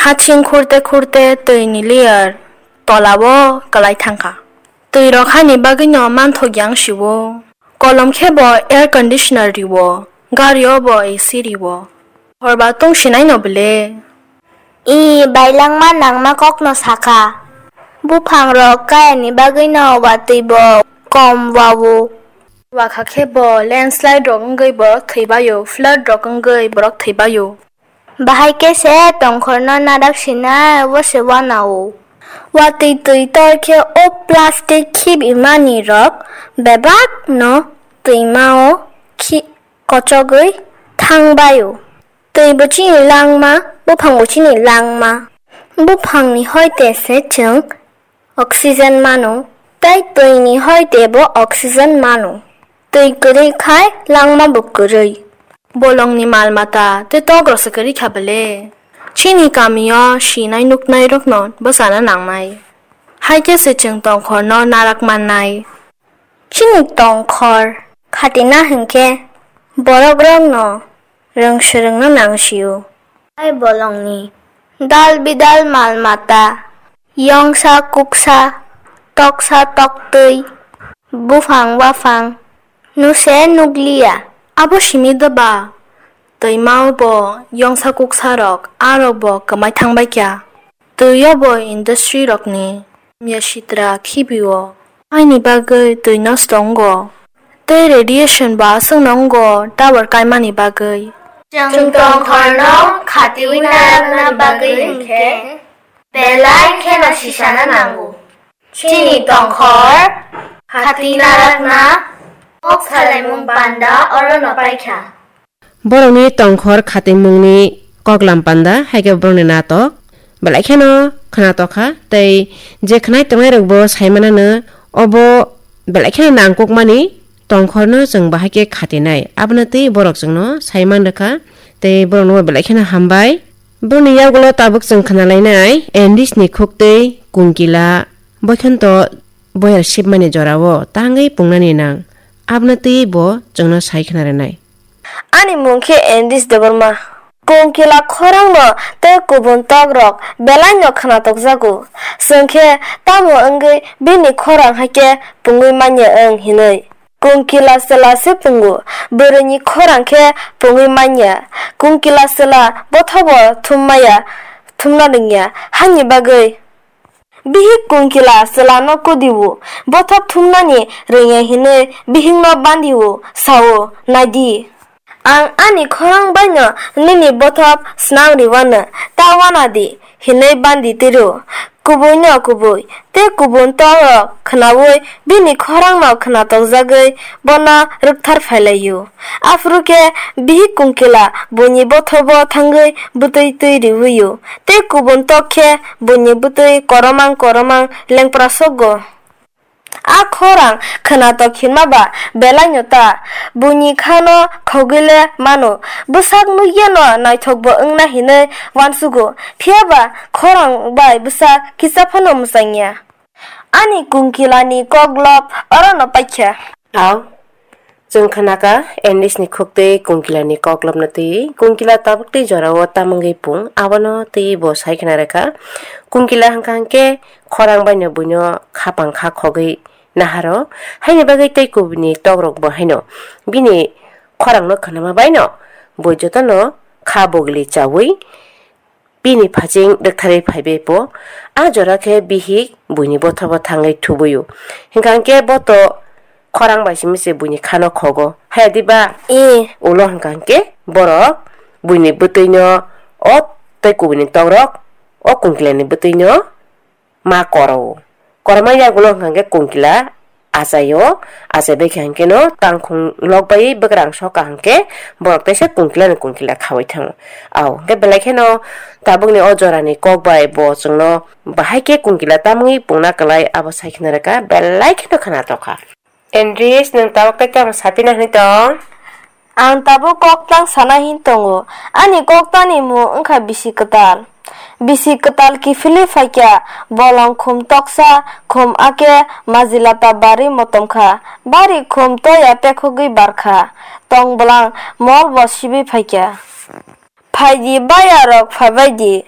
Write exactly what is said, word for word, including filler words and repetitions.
Athing khurte khurte twi ni layer tola o kwlai thangkha. Twi rok hani bagwi no manthok yang si o. Kolom khe bo air conditioner ri o, gari o bo A C ri o. Horba tong sinai no bwle. I bailangma nangma kok no sakha. Buphang rok kaya ni bagwi no watwi bo kom wa o. Wakha khe bo landslide rok wngwi borok thwi bai o, flood rok wngwi borok thwi bai o. Bahai khe se tongkhor no narak sinai o se wana o. Watwi twi tor khe o plastic khib imani rok bebak no twima o khi-, kochogwi thang bai o. Twi bo chini langma, buphang bo chini langma. Buphang ni hoite se chwng oxygen mano, tei twi ni hoite bo oxygen mano. Twi kwrwi khai langma bo kwrwi. Bolong ni mal mata tei tok rok se kwrwi kha bwle. Chini kami o sinai nuknai rok no bwsana nangnai. Hai khe se chwng tongkhor no narak mannai. Chini tongkhor khatina hinkhe borok rok no rwng swrwng no nang si o. Hai bolong ni dal bidal mal mata, yongsa kuksa, toksa toktwi, buphang waphang, nuse nukliya. Abo simi da ba? Twima o bo yongsa kuksa rok, a rok bo kwmai thang bai kha. Twi o bo industry rok ni hamya sitra khibi o. Aini bagwi twi nosto wngo. Tei radiation bo aswk no wngo tower kaimani bagwi. Chwng tongkhor no khatiwi narakna bagwi hinkhe belai kheno sisana nango. Chini tongkhor khati narakna kok salaimung panda oro no paikha. Borokni tongkhor khatimungni koklam panda hai khe borokni natok belai kheno khwnatok kha, tei je khwnai tongnai rokbo sai manano obo belai kheno nangkukmani tongkhorno chwng bahai khe khatinai, abono tei borok chwngno sai man rwkha, tei borokno belai kheno hambai. Borokni yagulo tabuk chwng khwnalainai English ni khuktwi Kunkila, Boikhonto boyar sibmani jorao tangwi pungnani nang, abono twi bo chwngno sai khna rwnai. Ani mung khe English Debbarma. Kunkila khorangno tei kubun tokrok belaino khwnatokjago. Chwng khe tamo wngwi bini khorang hai khe pungwi manya wng hinwi. Kunkila chwla se pungo, bwrwini khorang khe pungwi manya. Kunkila chwla bothabo thum maya, thumna rwngya, hani bagwi. Bihik Kunkila chwlano kudio, bothop thumnani rwngya hinwi bihikno bandio, sao, "Naidi, ang ani khorang baino nini bothop snang riwano, ta wanadi," hinwi bandi tiro. Kubuino kubui tei kubun tokrok khwnaui bini khorangno khwnatokjagwi bono rwkthar phailaio. Aphuru khe bihik Kunkila buini bothobo thangwi bwtwi twi riwio, tei kubun tok khe buini bwtwi koromang koromang lengpra sokgo. A khorang khwnatok hinma ba belaino ta, buini khano khogwi le mano, bwsak nukyano naithokbo wngna hinwi uansugo, phiya ba khorang bai bwsak kisa phano mwchangya. Ani Kunkilani koklop orono paikha. Au, chwng khnakha English ni khuktwi Kunkilani koklopno twi. Kunkila tabuk twi jorao tamungwi pung, abono twi bo sai khna rwkha. Kunkila hwnkha hwnkhe khorang baino buino khapang kha khogwi naharo, haini bagwi tei kubuni tokrokbo haino bini khorangno khnama baino bui jotono kha bogli chaui bini phaching rwktharwi phaibai bo. A jora khe bihik buini bothobo thangwi thubuio. Hwnkha hwnkhe bo to khorang bai simi se buini khano khogo. Haya diba? E. Ulo hwnkha hwnkhe borok buini bwtwino o tei kubuni tokrok o Kunkilani bwtwino ma koro. Koroma yagulo hwnkha hwnkhe Kunkila achaio, achai bai khe hwnkhe no tangkhung lok bai bwkrang soka hwnkhe borok teisa Kunkila ni Kunkila khaui thango. Au hwnkhe belai kheno tabukni o jorani kok bai bo chwngno bahai khe Kunkila tamungwi pungna kwlai abo sai khna rwkha, belai kheno khwnatok kha. Andris, nwng tabuk tei tamo sapina hwnwi tong? Ang tabuk koktang sana hin tongo. Ani koktani mung wngkha bisi kwtal. Bisi kwtal kiphilwi phaikha, bolong khum toksa, khum ake majilata bari motom kha. Bari khum toya tekhogwi barkha. Tong bwlang mol bo sibwi phaikha. Phaidi bayarok phaibaidi,